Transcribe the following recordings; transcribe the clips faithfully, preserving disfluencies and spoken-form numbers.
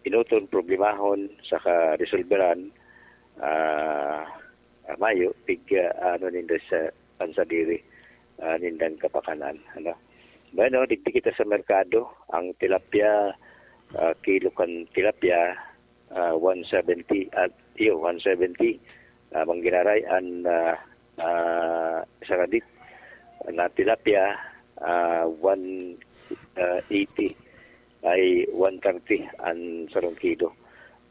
inuton, problemahon, saka resolberan, ah, ah, mayo, pig, ah, ano ninda sa pansadiri, ah, nindang kapakanan, ano. Bueno, digdi kita sa merkado, ang tilapia, ah, kilo kan tilapia, ah, one seventy, at iyo, one seventy, ah, manggiraray an, ah, ah, saradit na tilapia, ah, one, ah, eighty ay one thirty an sarong kilo.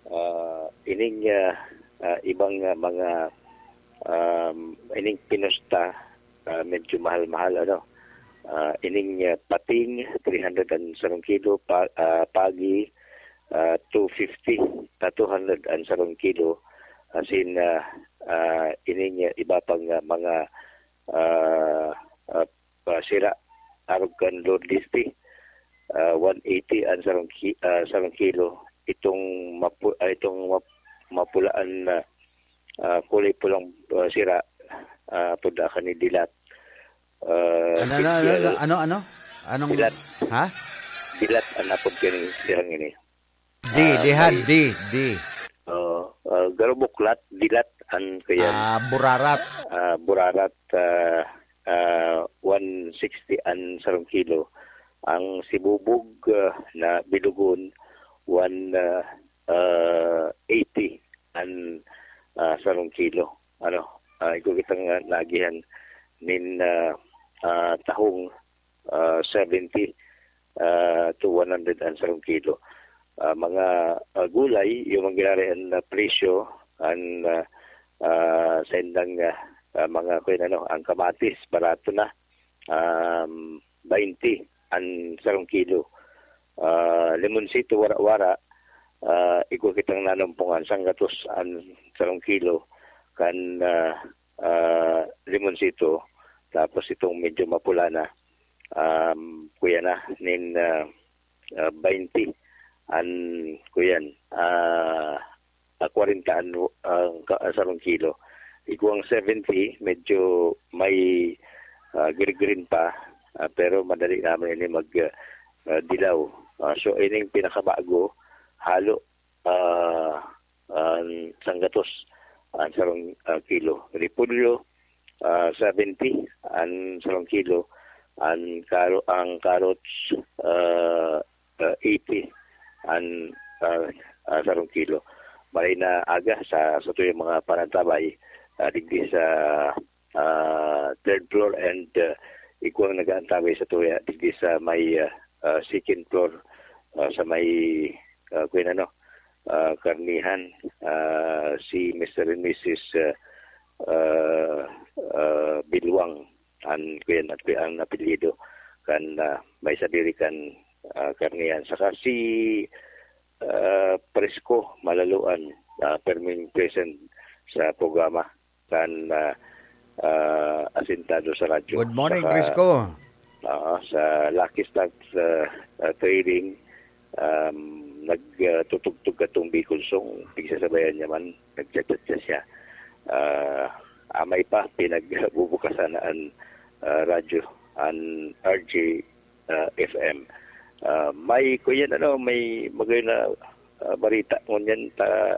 Ah, ining, ah, ah, ibang, ah, mga, um, ining pinusta, ah, medyo mahal-mahal, ano. Ah, ining, ah, pating, three hundred an sarong kilo, pa-, ah, pagi, ah, two fifty, ah, two hundred an sarong kilo. Asin, ah, ah, ining, ah, iba pang, ah, mga, ah, ah, ah, sira, arog kan Lord Listi, ah, one eighty an sarong ki-, ah, sarong kilo. Itong mapu-, ah, itong map-, mapulaan na, ah, kulay pulang, ah, sira, ah, apod kan ni Dilat. Ah, Ano, ano, ano, Pichel ano, ano? Anong, Dilat. Ha? Dilat an apod kan sirang ini. D, Ah, Dihad, may D, D. Oo, ah, garo buklat, dilat, an kaya, Ah, burarat. Ah, burarat, ah, ah, one sixty an sarong kilo. Ang sibubog, ah, na bilugon, one, ah, ah, eighty an, ah, sarong kilo. Ano, ah, igwa kitang, ah, naagihan nin, ah, ah, tahong, ah, seventy, ah, to one hundred an sarong kilo. Ah, mga, ah, gulay, yung mga ginarayan na presyo, an, ah, ah, sa indang, ah, ah, mga, kung ano, ang kamatis, barato na, um, twenty an sarong kilo. Ah, limonsito, wara-wara, ah, igwa kitang nanumpongan, sanggatos an sarong kilo, kan, ah, ah, limonsito, tapos itong medyo mapula na, um, kuya na, nin, ah, ah, twenty an, kuyan, ah, ah, kwarenta an, ang ka-, ang sarong kilo. Igwang seventy, medyo may, ah, green-green pa, ah, pero madali naman ini mag, ah, dilaw. Ah, so, ining pinakabago, halo, ah, an sanggatos an sarong, ah, kilo. Repolyo, ah, seventy an sarong kilo. An karo-, ang carrots, ah, ah, eighty an, ah, ah, sarong kilo. Maray na aga sa, sa tuyang mga panantabay, ah, digdi sa, ah, third floor and, ah, igwang nag-aantabay sa tuya digdi sa may, ah, ah, second floor, ah, sa may, ah, kuya na, no, ah, karnihan, ah, si Mister and Missus, ah, ah, ah, Bilwang, an kuyan at kuya ang apelyido, kan, ah, may sadiri kan, ah, karnihan. Saka si, ah, Presko Malaluan, ah, perming present sa programa kan, ah, ah, asintado sa radyo. Good morning, Saka, Prisco. ah, sa Lucky Stars, ah, ah, Trading, um, nag, ah, tutugtog katong Bicol Song, pigsasabayan niya man, nagchat-chat siya. Ah, amay pa, pinagbubukasan na an, ah, radyo, an R J, ah, F M. Ah, may, kuyan, ano, may magayon na, ah, barita. Ngunyan, ta,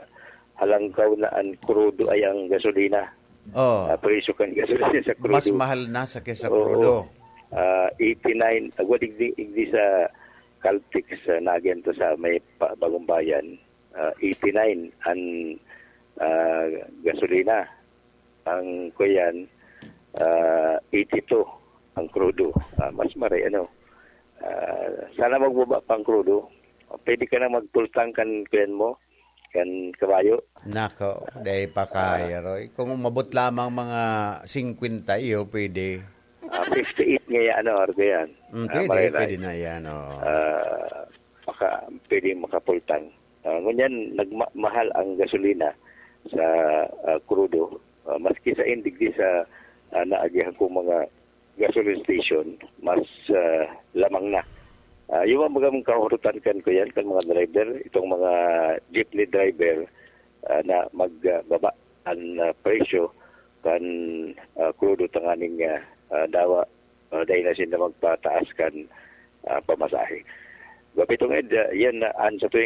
halangkaw na an krudo ay ang gasolina. Oh. Ah, presyo kan gasolina sa Mas krudo. mahal na sa kesa Oo. krudo. Ah, eighty-nine, agwa digdi, digdi sa Caltex, ah, nagyan to sa may pa-, Bagong Bayan. Ah, eighty-nine an, ah, gasolina. Ang kuyan, ah, eighty-two ang krudo. Ah, mas maray, ano. Ah, sana magbaba pa ang krudo. Pwede ka na magpultang kan kuyan mo, kan kabayo. Nako, dai pa kaya, Roy. Kung umabot lamang mga singkwenta, iyo, pwede. Ah, fifty-eight nga yan, ano, Argo, yan. Mm, Ah, pwede, maray-ray. pwede na yan, oo. Ah, maka-, pwede makapultang. Ah, ngunyan, nagma-, mahal ang gasolina sa, ah, krudo. Ah, maski sa indigdi sa, ah, naagihan kong mga gasoline station, mas, ah, lamang na. Ah, yung mga kahurutan kan kuyan, kan mga driver, itong mga jeepney driver, ah, na magbaba ang, ah, presyo kan, ah, krudo tanganing, ah, ah, dawa, ah, dahil na sila magpataas kan, ah, pamasahe. Gabitong Ed, ah, yan na an sa tuwing